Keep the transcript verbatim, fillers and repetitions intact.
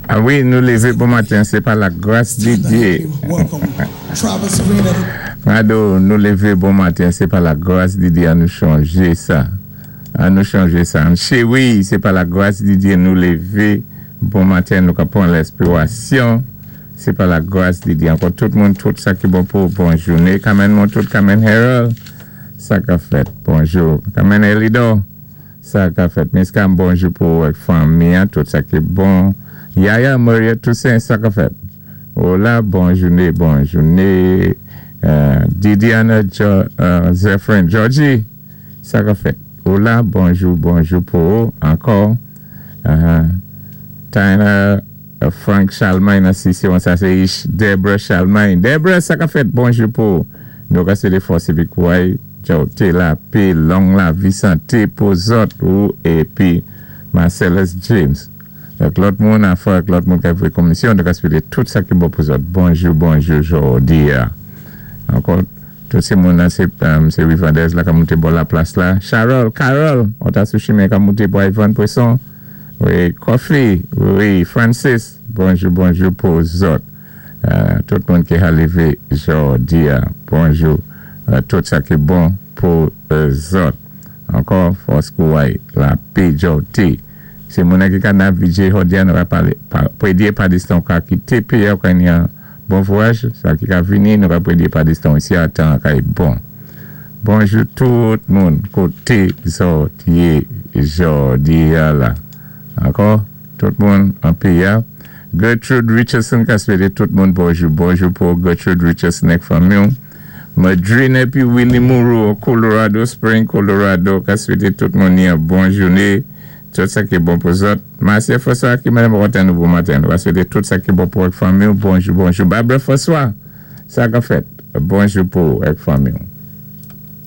Ah wi, nou lévé bon maten, sé pa la gras di Djé. Welcome Travis Green at Mado, nou lévé bon maten, sé pa la gras di Djé, an nou chanjé sa. An nou chanjé sa. An wi, sé pa la gras di Djé, nou lévé bon maten, nou ka pwan lèspirasyon. Sé pa la gras di Djé. Ankò tout moun, tout sa ki bon pou bon jouné. Kamen moun tout, Kamen Harold. Sa ka fèt, bonjou. Kamen Elido. Sa ka fèt. Miskam, bonjou pou fanmi, tout sa ki bon. Yaya Maria Toussaint, sa ka fèt. Hola, bon jouné, bon jouné. Euh, Didiana jo, euh, Zephyrin, Georgie, sa ka fèt. Hola, bonjou, bonjou pou ankò. Uh, Tyler, uh, Frank Charlemagne, si on sa sé Deborah Charlemagne. Deborah, sa ka fèt, bonjou pou. Nou ka swété fòs épi kouway, té lapé, long lavi, santé pou zòt ou épi Marcellus James. Donk lòt moun an fwa, lòt moun ki fè komisyon, donk swété tout sa ki bon pou zòt. Bonjou, bonjou, jòdi. Ankò, tout sé moun sé, um, sé Rivandez la ka monté bò la plas la. Charol, Carol, on ta sou chimen ka monté pou Ivan Poisson. Wi, Kofi, wi, Francis, bonjou, bonjou pou zòt. Euh, tout moun ki a lévé jòdi. Bonjou, euh, tout sa ki bon pou euh, zòt. Ankò, fòs kouway, lapé jòdi. Sé moun ki ka navigé jòdi nou va palé, pa, prédé pa distan ka kité péyi ka yon bon vwayaj, sa ki ka vini, nou va prédé pa distan isi a tan ka bon. Bonjou tout moun koté zòt yé jòdi la. Ankò, tout moun an péyi. Gertrude Richardson ka swété tout moun bonjou. Bonjou pou Gertrude Richardson ek fanmi. Madrine épi Willie Moreau, Colorado Spring, Colorado, ka swété tout moun yon bon jouné. Tout sa ki bon pou zòt. Marcia François ki madam kontan nou bon maten. Nou va swété tout sa ki bon pou ek fanmi. Bonjou, bonjou. Barbara François, sa ka fèt. Bonjou pou ek fanmi.